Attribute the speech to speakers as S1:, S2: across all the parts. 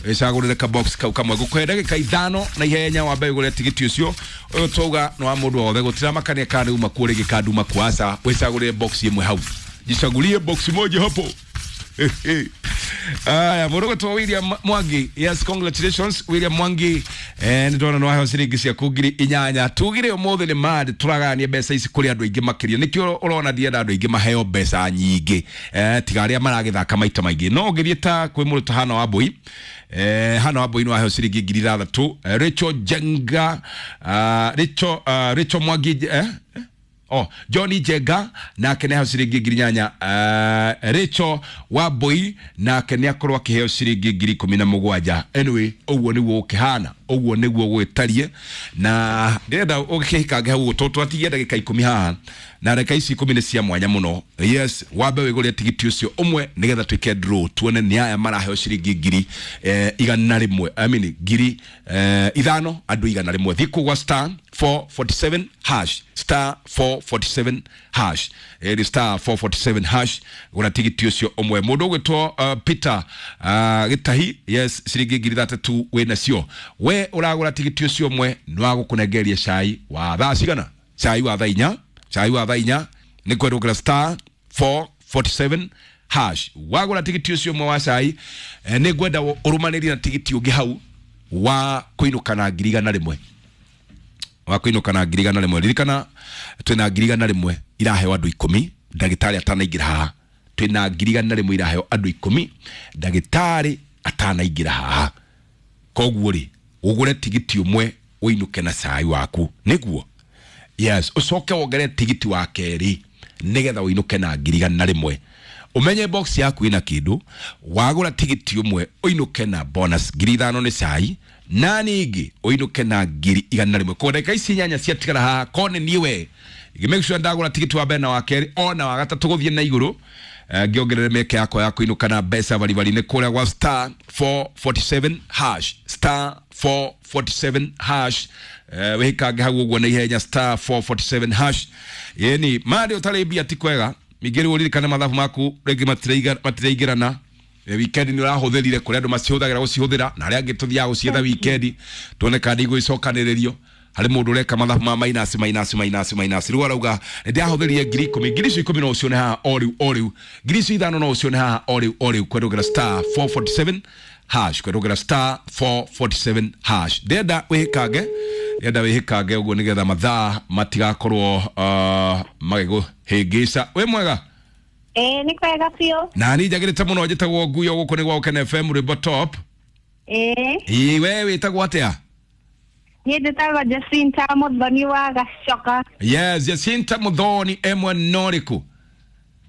S1: Wĩcagũrĩre ka box kau kamwe. Ngũkũhe ndagĩka 5 na ihenya wambe ũgũre tigiti ũcio. Ũyũ twauga nĩ wa mũndũ wothe, gũtiramakania kana nĩ uma kuo rĩngĩ kana nduma kuo, aca. Wĩcagũrĩre box ĩmwe hau, jichagulie box moja hapo. Aya, mũndũ gwĩtwo William Mwangi, yes, congratulations William Mwangi. Nĩ ndona nĩ waheo ciringi ciaku 8,000. Tugire ũmũthĩ nĩ mad tũragayania mbeca ici kũrĩ andũ aingĩ makĩria, nĩkĩo ũrona ndienda andũ aingĩ maheo mbeca nyingĩ, tiga arĩa maragĩthaka maita maingĩ. No ũngĩthiĩ ta kwĩ mũndũ ta Hana Wambui, Hana Wambui nĩ waheo ciringi 6,000. Rachel Jenga, Rachel Mwangi, oh, Johnny Jenga nake nĩ aheo ciringi 8,000. Rachel Wambui nake nĩ akorwo akĩheo ciringi 17,000. Anyway, ũguo nĩguo gũkĩhana, ũguo nĩguo gwĩtarie, na ndĩrenda ũgĩkĩhikange hau tondũ twatigia ndagĩka 10 haha, na ndagĩka ici 10 nĩ cia mwanya mũno. Yes, wambe wĩgũrĩre tigiti ũcio ũmwe nĩgetha twĩke draw, tuone nĩ aya maraheo ciringi 100,000, I mean 5,000, andũ 100. Thiĩ kũu gwa star 447 hash, star 447 hash, ĩni star 447 hash, gũra tigiti ũcio ũmwe. Mũndũ ũgwĩtwo Peter Gĩtahi, yes, ciringi 3,000 wĩ nacio. We ũragũra tigiti ũcio ũmwe nĩ wa gũkũnengeria cai wa thaa cigana? Cai wa thaa 4, cai wa thaa 4. Nĩ kwendũkĩra star 447 hash. Wagũra tigiti ũcio ũmwe wa cai, nĩ ngwenda ũrũmanĩrie na tigiti ũngĩ hau wa kũinũka na 100,000, wa kũinũka na 100,000. Ririkana twĩna 100,000 iraheo andũ 10 ndagĩtarĩ atanaingĩra haha. Twĩna 100,000 iraheo andũ 10 ndagĩtarĩ atanaingĩra haha. Koguo rĩ, ũgũre tigiti ũmwe ũinũke na cai waku nĩguo, yes, ũcoke wongerere tigiti wa kerĩ nĩgetha ũinũke na 100,000. Ũmenye box yaku ĩna kĩndũ. Wagũra tigiti ũmwe ũinũke na bonus 5,000 nĩ cai, na ningĩ ũinũke na 100,000. Kwa ndagĩka ici 8 ciatigara haha, ko nĩ niĩ we make sure ndagũra tigiti wa mbere na wa kerĩ ona wa gatatũ gũthiĩ na igũrũ, ngĩongerere mĩeke yakwa ya kũinũka na mbeca baribari nĩ kũrĩa gwa star 447 hash, star 447 hash. Wĩhikange hau ũguo na ihenya, star 447 hash. Yeni marĩ ũtarĩ mbia ti kwega. Ningĩ rĩu ũririkane mathabu maku rĩngĩ matiraingĩrana. Weekend nĩ ũrahũthĩrire kũrĩa andũ macihũthagĩra gũcihũthĩra, na arĩa angĩ tũthiaga gũcietha weekend tuone kana nĩ igũgĩcokanĩrĩrio. Harĩ mũndũ ũreka mathabu ma minus, minus, minus, minus. Rĩu arauga nĩ ndĩrahũthĩrire 10,000. Ngiri icio 10 no ũcione haha o rĩu o rĩu. Ngiri icio 5 no ũcione haha o rĩu o rĩu. Kwendũgĩra star 447 hash, kwendũgĩra star 447 hash. Ndĩrenda wĩhĩkange, ndĩrenda wĩhĩkange ũguo nĩgetha mathaa matigakorwo magĩgũhĩngĩca. Wĩ mwega?
S2: Ĩĩ, nĩ kwega biũ.
S1: Na niĩ njagĩrĩte mũno. Njĩtagwo Nguyo, gũkũ nĩ gwa Gũkena FM, rwĩmbo top.
S2: Ĩĩ.
S1: Ĩĩ, we wĩtagwo atĩa?
S2: Niĩ njĩtagwo Jacinta Mũthoni wa Gacoka.
S1: Yes, Jacinta Muthoni, emwe norĩkũ?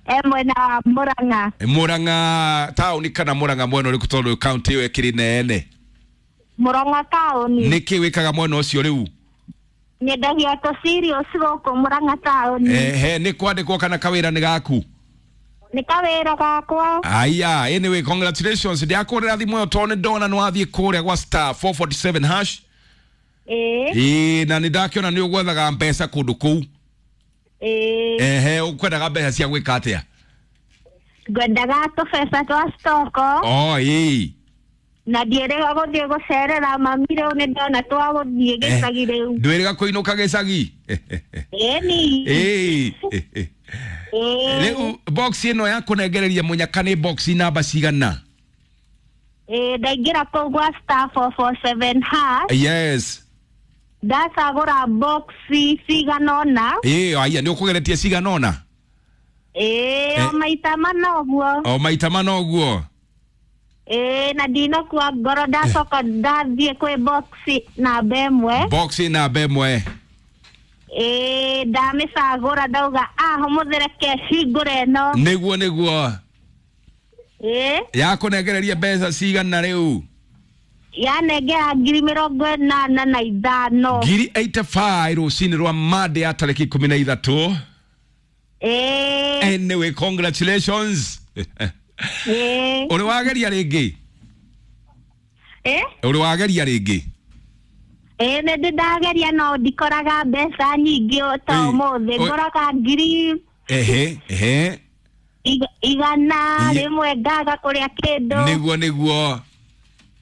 S2: E mwena wa Mũrang'a.
S1: Murang'a taũni kana Murang'a mwena ũrĩkũ, tondũ kaunti ĩyo ĩkĩrĩ nene?
S2: Mũrang'a taũni.
S1: Nĩkĩ wĩkaga mwena ũcio rĩu?
S2: Nyendagia tũ cereals gũkũ Mũrang'a taũni.
S1: Ehe, nĩ kwandĩkwo kana kawĩra nĩ gaku?
S2: Nĩ kawĩra gakwa.
S1: Aya, anyway, congratulations. Ndakũrĩra thimũ ĩyo tondũ nĩ ndona nĩ wathiĩ kũrĩa gwa star 447 hash.
S2: Ĩĩ.
S1: Ĩĩ, na nĩ ndakĩona nĩ ũgwethaga mbeca kũndũ kũu.
S2: Ĩĩ.
S1: Ehe, ũkwendaga mbeca cia gwĩka atĩa?
S2: Ngwendaga tũbeca twa stoko.
S1: Oh, ĩĩ.
S2: Na ndiĩrĩga gũthiĩ gũcerera mami rĩu, nĩ ndona twa gũthiĩ gĩcagi rĩu.
S1: Ndwĩrĩga kũinũka gĩcagi?
S2: Ĩni.
S1: Ĩĩ.
S2: Ĩĩ.
S1: Rĩu box ĩno ya kũnengereria mũnyaka nĩ box namba cigana?
S2: Ĩĩ, ndaingĩra kũu gwa star 447 hash. Ndacagũra box cigana ũna.
S1: Ĩĩ, aya nĩ ũkũgeretie cigana ũna?
S2: Ĩĩ, o maita mana ũguo.
S1: O maita mana ũguo.
S2: Ĩĩ, na ndinakua ngoro, ndacoka ndathiĩ kwĩ box namba 1.
S1: Box namba 1.
S2: Ĩĩ, ndamĩcagũra, ndauga ah, ũmũthĩ reke hingũre ĩno.
S1: Nĩguo.
S2: Ĩĩ.
S1: Yakũnengereria mbeca cigana rĩu?
S2: Yanengera 85,000.
S1: 85,000 rũcinĩ rwa Monday ya tarĩki 13.
S2: Ĩĩ.
S1: Anyway, congratulations.
S2: Ĩĩ.
S1: Ũrĩ wageria rĩngĩ?
S2: Ĩ.
S1: Ũrĩ wageria rĩngĩ?
S2: Ĩĩ, nĩ ndĩ ndageria no ndikoraga mbeca nyingĩ ta
S1: Ĩĩ.
S2: ũmũthĩ. Ngoraga ngiri
S1: ehe ehe
S2: igana
S1: Iye.
S2: rĩmwe, ngaga kũrĩa kĩndũ.
S1: Nĩguo.